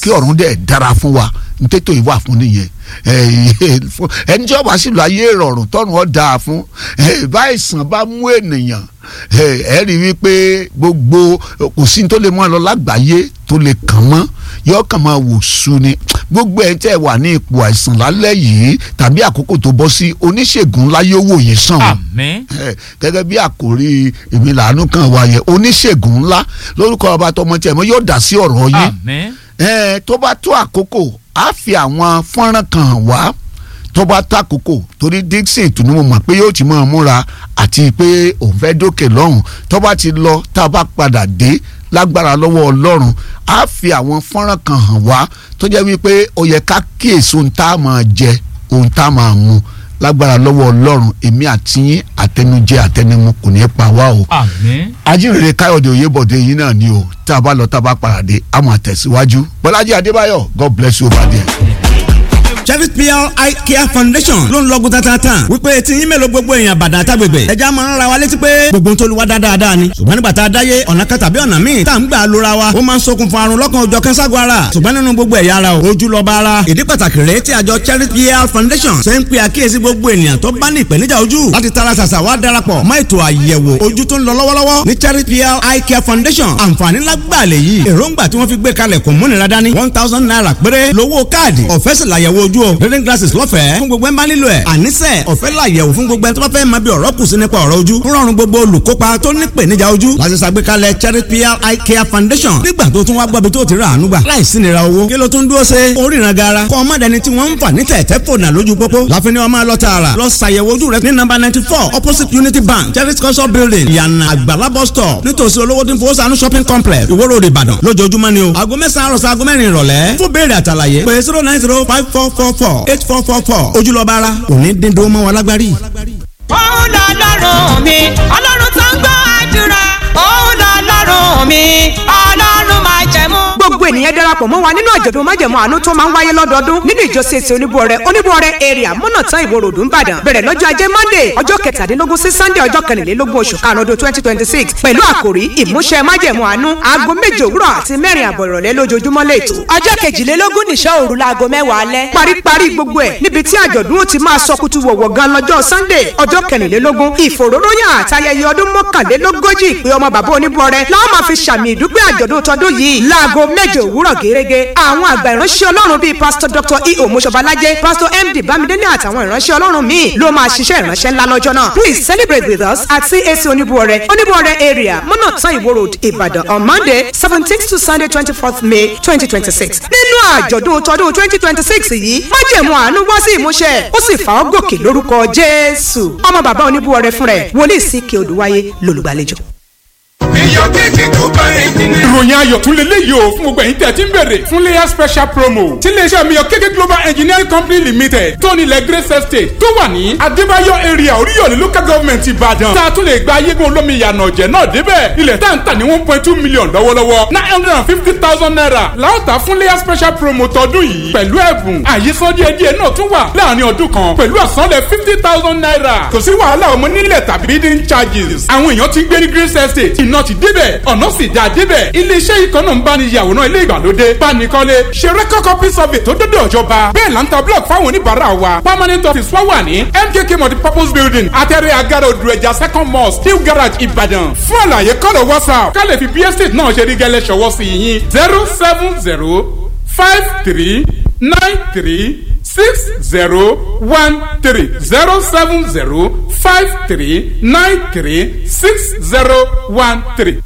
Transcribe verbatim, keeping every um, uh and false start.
Kí ọ̀run dẹ̀ dára fún wa, ntẹ́tò ìwà fún nìyẹn. Ẹni tí ọba sì lọ ayé ìrọ̀rùn tọ́run ọ̀ dáa fún. Báyìí bá mú ènìyàn, ẹ rí wípé gbogbo kò sí tó lè mú ọ lọ lágbàáyé tó lè kàn mọ́, yọ kàn máa wò sú ni. Gbogbo ẹ̀ tẹ́ wà ní ipò àìsàn lálẹ́ yìí tàbí àkókò tó bọ́ sí, oníṣègùn ńlá yóò wò yín sàn. Àmín. Gẹ́gẹ́ bí àkòrí èmi làánú kan wà yẹn, oníṣègùn ńlá lórúkọ ọba tọmọ tiẹ̀ mọ́ yóò dá sí ọ̀rọ̀ yín. Àmín. Tó bá tó àkókò, á fi àwọn fọ́nrán kan hàn wá tó bá tó àkókò, torí Dixon tún mo mọ̀ pé yóò ti máa múra àti pé òun fẹ́ dókè lọ́hùn. Tó bá ti lọ, tá a bá padà dé lágbára lọ́wọ́ Ọlọ́run, á fi àwọn fọ́nrán kan hàn wá tó jẹ́ wípé ó yẹ ká kíyèsí ohun tá a máa jẹ, ohun tá a máa mu. Lágbára lọ́wọ́ Ọlọ́run, èmi àti yín, àtẹnujẹ àtẹnumu kò ní í pa wá o. Àmín. Ajínrere Káyọ̀dé Oyèbọ̀dé yín náà ni o. Tá a bá lọ, tá a bá padà dé, a máa tẹ̀síwájú. Bọ́lájí Adébáyọ̀, God bless you over there. Chevy P L Eye Care Foundation ló ń lọ́gùn tatata wípé tí yín mélòó gbogbo èèyàn bàdà àtàgbègbè ẹja máa ń ra wa létí pé gbogbo ń tolúwa dáadáa ni. Ṣùgbọ́n nígbà tá a dáyé, ọ̀nà kan tàbí ọ̀nà míì tá à ń gbà lóra wa, ó máa ń ṣokùnfà àrùn lọ́kàn òjọ̀ kẹ́sàgọ́ ara. Ṣùgbọ́n nínú gbogbo ẹ̀yà ara o, ojú lọ́ba ara. Ìdí pàtàkì rèé tí àjọ Chevy P L Foundation ṣe ń pe àkíyèsí gbogbo ènìyàn tó bá ní ìpèníjà ojú láti tara ṣàṣà wá darapọ̀ mọ́ ètò àyẹ̀wò ojú tó ń lọ lọ́wọ́lọ́wọ́ ní Chevy P L Eye Care Foundation. Àǹfààní lágbàlẹ̀ yìí, èròǹgbà tí wọ́n fi gbé kalẹ̀ kò múnira dání. One thousand naira péré lówó káàdì, ọ̀fẹ́ sì làyẹ̀wò ojú o. Reading glasses lọ́fẹ̀ẹ́ fún gbogbo ẹ̀ ń bá nílò ẹ̀. Àníṣe ọ̀fẹ́ làyẹ̀wò fún gbogbo ẹ̀ tó bá fẹ́ máa bí ọ̀rọ̀ kù sí nípa ọ̀rọ̀ ojú. Ń rọrùn gbogbo olùkópa tó ní ìpèníjà ojú láti ṣàgbékalẹ̀ Charity P L Eye Care Foundation. Nígbà tó tún wá gbọ́ bí tó ti rà àánú gbà láìsí nira owó, kí ló tún dúró ṣe oríran gara? Kọ́ ọmọdéni tí wọ́n ń fà ní tẹ̀tẹ̀ fònà lójú pópó láfi ní ọmọ lọ tààrà lọ ṣàyẹ̀wò ojú rẹ ní nọ́mbà ninety four, opposite Unity Bank, Charity Culture Building, Ìyànà Àgbàlá bus stop, nítòsí olówó tí ń fowó sànú shopping complex, Ìwó Road, Ìbàdàn, lójoojúmọ́ ni o. Aago mẹ́sàn-án àròsọ aago mẹ́rin ìrọ̀lẹ́. Fún béèrè àtàlàyé, pé zero nine zero five four four four eight four four four. Ojúlọ́ba ara kò ní dín dúró mọ́ wa lágbárí. Òun lọ́lọ́run mi, Ọlọ́run tó ń gbọ́ àdúrà. Òun lọ́lọ́run mi, Ọlọ́run máa jẹ̀mú. Gbogbo ènìyàn darapọ̀ mọ́ wa nínú àjọ̀dún májẹ̀mú àánú tó máa ń wáyé lọ́dọọdún nínú ìjọ C A C Oníbúọrẹ, Oníbúọrẹ Area, Mọ́nàtán, Ìwó Road, Ìbàdàn. Bẹ̀rẹ̀ lọ́jọ́ ajé Monday, ọjọ́ kẹtàdínlógún sí Sunday, ọjọ́ kẹrìnlélógún oṣù karùn-ún ọdún twenty twenty six, pẹ̀lú àkòrí ìmúṣẹ májẹ̀mú àánú. Aago méje òwúrọ̀ àti mẹ́rin àbọ̀ ìrọ̀lẹ́ lójoojúmọ́ lẹ́tọ̀. Ọjọ́ kejìlélógún nìṣọ́ òru láago mẹ́wàá alẹ́. Paríparí gbogbo ẹ̀ níbi tí àjọ̀dún ó ti máa sọkútù wọ̀wọ̀ gan lọ́jọ́ Sunday, ọjọ́ kẹrìnlélógún. Ìfòróróyìn àtayẹyẹ ọdún mọ́kànlélógójì ìpè ọmọ bàbá Oníbúọrẹ láwọn máa fi ṣàmì ìdúpẹ́ àjọ̀dún tọdún yìí láago méje òwúrọ̀ gẹ́gẹ́. Àwọn àgbà ìránṣẹ́ Ọlọ́run bíi Pastor Doctor E O. Moshobalajẹ, Pastor M D Bámidélé àtàwọn ìránṣẹ́ Ọlọ́run míì ló máa ṣiṣẹ́ ìránṣẹ́ ńlá lọ́jọ́ náà. Please celebrate with us at C A C Oníbúọrẹ, Oníbúọrẹ Area, Mọ́nàtán, Ìwó Road, Ìbàdàn on Monday seventeenth to Sunday twenty fourth May twenty twenty six. Nínú àjọ̀dún tọdún twenty twenty six yìí, májẹ̀mú àánú wá sí ìmúṣẹ, ó sì fà ọ́ gòkè lórúkọ Jésù. Ọmọ bàbá Oníbúọrẹ fúnra ẹ̀, wòlíì C K Odùwáyé lolùgbàlejò. Iyọ̀ kéèkì tó bá ẹ̀jìnì. Ìròyìn ayọ̀ tún lè léyìí o fún gbogbo ẹ̀yin tẹ̀ tí ń bèrè fún layer special promo tí iléeṣẹ́ mi yọ kéèkì Global Engineering Company Limited tó nílẹ̀ Grace Estate tó wà ní Adébáyọ̀ Area, Oríyọ̀lẹ̀ Local Government, Ìbàdàn, tá a tún lè gba ayégun olómi ìyànà ọ̀jẹ̀ náà débẹ̀. Ilẹ̀ tá à ń tà ní one point two million lọ́wọ́lọ́wọ́, nine hundred and fifty thousand naira láòtà fún layer special promo tọdún yìí, pẹ̀lú ẹ̀bùn àyíṣán díẹ̀díẹ̀ náà tún wà láàrin ọdún kan pẹ̀lú àsanlẹ̀ fifty thousand naira. Kò sí wàhálà ọmọ nílẹ̀ tàbí bidding charges. Àwọn èèyàn ti ń gbé ní Grace Estate, iná ti débẹ̀, ọ̀nà sì dáa débẹ̀. Iléeṣẹ́ yìí kan náà ń bá ní yàwòrán ilé ìgbàlódé, bánikọ́lé, ṣe record copy survey tó dọ́dọ̀ ìjọba. Bẹ́ẹ̀ là ń ta block fáwọn oníbàárà wa. Permanent office wa wà ní M K K Multipurpose Building, Atẹ́rẹ́ Agara, Odò Ẹja Second Mosque, New Garage, Ìbàdàn. Fún àlàyé, kọ́lọ̀ WhatsApp ká lè fi bí estate náà ṣe rí gẹ́lẹ́ ṣọwọ́ sí yín: zero seven zero five three nine three six zero one three, zero seven zero five three nine three six zero one three.